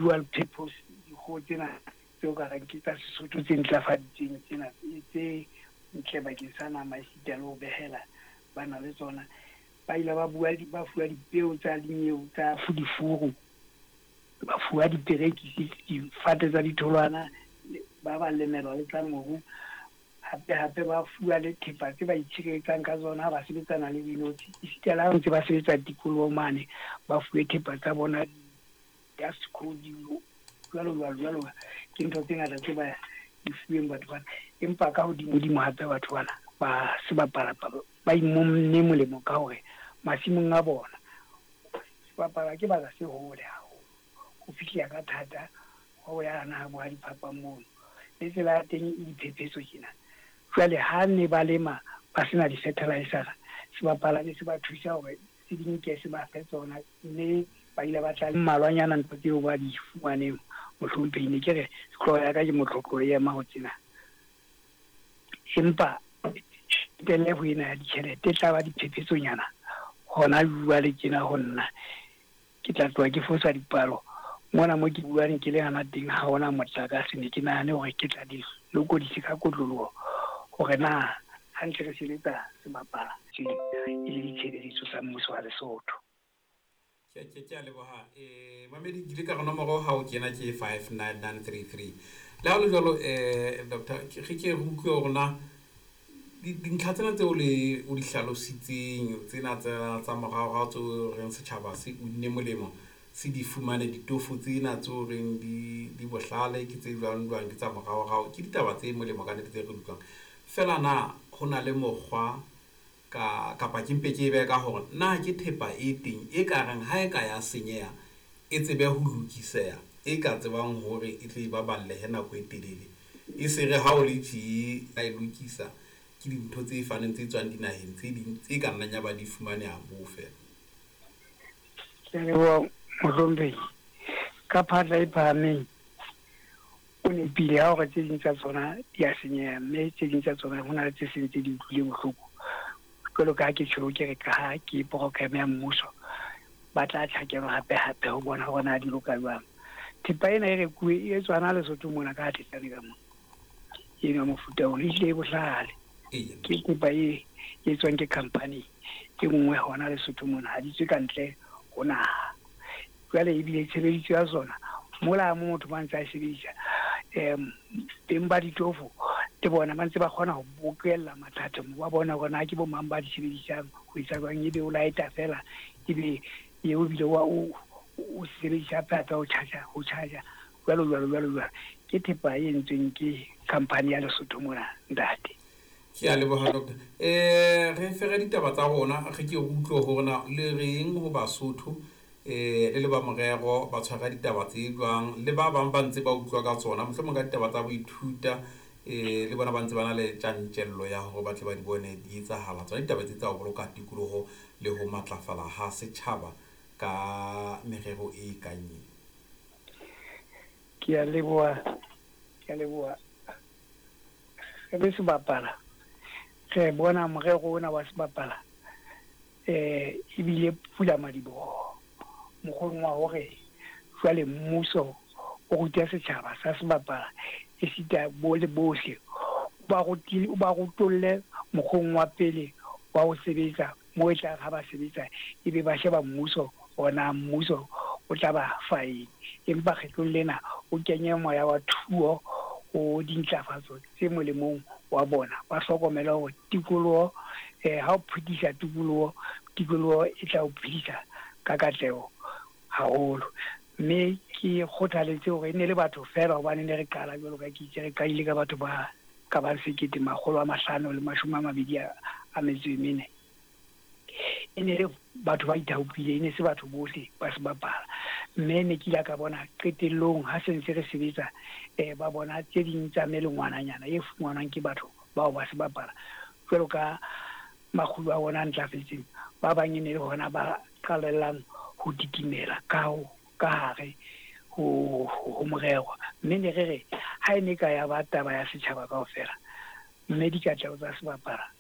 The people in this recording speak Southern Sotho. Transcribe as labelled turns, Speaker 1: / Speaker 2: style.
Speaker 1: Dual purpose dikgoho tsena tseo ka reng ke tsa Sesotho tse ntlafaditsweng tsena tse ntle bakeng sa nama esita le ho behela bana le tsona. Ba ile ba bua ba fuwa dipeo tsa dinyeo tsa difuru, ba fuwa diperekisi, difate tsa ditholwana, ba ba lemelwa le tsa mobu. Hape hape ba fuwa le thepa tse ba itshireletsang ka tsona ha ba sebetsana le dinotshi. Esita le ha ntse ba sebetsa tikolohong mane, ba fuwe thepa tsa bona dust code jwalo jwalo jwalo. Ke ntho tse ngata tse ba di fuweng batho bana. Empa ka hodimo-dimo hape batho bana ba sebapalapalo ba imonne molemo ka hore masimong a bona sebapala ke baka se hole haholo, ho fihleha ka thata ho ya hana ha bo ha diphapang mono. Le tsela ya teng e diphephetso tjena. Jwale ha ne ba lema ba sena di-fertilizer, sebapala ne se ba thusa hore se di nke se ba fe tsona, mme ba ile ba tla mmalwanyana ntho tseo ba di fumaneng. Mohlomphehi, ne ke re hlooho ya ka ke motlotlo e ema ho tsena, empa telle ho ena ya ditjhelete e tla ba diphephetsonyana hona jwale tjena ho nna. Ke tla tloha ke fosa dipalo mona mo ke buang ke le hana teng, ha hona motlakase. Ne ke nahane hore ke tla di lokodise ka kotloloho hore na hantle re sebetsa sebapala e le ditshebeletso tsa mmuso wa Lesotho.
Speaker 2: Ke a leboha. Mamedi, ke ile ka re nomoro ha o kena ke 59933. Le ha ho le jwalo, doctor, re ke re utlwe hore na dintlha tsena tseo le o di hlalositseng tsena tsa moraorao tseo reng setjhaba se unne molemo se di fumane, ditofo tsena tseo reng di bohlale ke tse jwang jwang, ke tsa moraorao, ke ditaba tse molemo ka nnete tse re di utlwang. Feela na ho na le mokgwa ka kapa ke mpe ke e behe ka hore na ke thepa e teng e ka reng ha e ka ya senyeha e tsebe ho lokiseha, e ka tsebang hore e tle e baballehe nako e telele, e se re ha o le tje a e lokisa ke dintho tse faneng tse tswang dinaheng tse ding tse ka nnang ya ba di fumaneha moo feela?
Speaker 1: Ke a leboha, mohlomphehi. Ka phatla e phahameng o nepile ha hore tse ding tsa tsona di a senyeha, mme tse ding tsa tsona ho na le tse seng tse di utlwile bohloko. Jwalo ka ha ke tjho ke re ka ha ke program ya mmuso, ba tla tjhakelwa hape hape ho bona hore na di loka jwang. Thepa ena e rekuwe e etswa hana Lesotho mona ka Thetsane ka mona. Eno ya mofuta ona ehlile e bohlale. Ke thepa e etswang ke company e nngwe hona Lesotho mona, ha di tswe ka ntle ho naha. Jwale ebile tshebediso ya tsona mola mo motho ba ntse a sebedisa, beng ba ditofo le bona ba ntse ba kgona ho bokella mathatho, ba bona hore na ke bo mang ba di sebedisang, ho etsa jwang, ebe o lighta fela, ebe eo ebile wa o sebedisa hape hape ho charge, ho charge jwalo jwalo jwalo jwalo. Ke thepa e entsweng ke company ya Lesotho mona, ntate.
Speaker 2: Ke a leboha, doctor. Re fere ditaba tsa rona, re ke re utlwe hore na le reng ho Basotho, le le ba morero ba tshwara ditaba tse jwang, le ba bang ba ntse ba utlwa ka tsona, mohlomong ka ditaba tsa boithuta, le bona ba ntse ba na le tjantjello ya hore ba tle ba di bone di etsahala tsona ditaba tse tsa ho boloka tikoloho le ho matlafala ha setjhaba ka merero e kang ena.
Speaker 1: Ke a leboha, ke a leboha. Re le sebapala re bona morero ona wa sebapala ebile pula madiboho mokgweng wa hore jwale mmuso o ruta setjhaba sa sebapala esita bo le bohle, ba rutile, ba rutolle mokgweng wa pele wa ho sebetsa mo e tla ha ba sebetsa ebe ba sheba mmuso ona mmuso o tla ba fa eng. Empa kgetlong lena o kenye moya wa thuo ho dintlafatso tse molemong wa bona. Ba hlokomele hore tikoloho, ha o phedisa tikoloho, tikoloho e tla o phedisa ka katleho haholo. Mme ke kgothaletse hore e ne le batho feela, hobane ne re qala jwalo ka ke itse, re qadile ka batho ba ka bang 1524. E ne le batho ba ithaopile, e ne se batho bohle ba sebapala. Mme ne ke ile ka bona qetellong ha se ntse re sebetsa, ba bona tse ding tsa melengwananyana e fumanwang ke batho bao ba sebapala jwalo ka makgulo a bona a ntlafetseng. Ba bang e ne le hona ba qalellang ho titimela ka ho ka hare ho morero. Mme ne re re ha e ne ka ya ba taba ya setjhaba kaofela, mme dikatleho tsa sebapala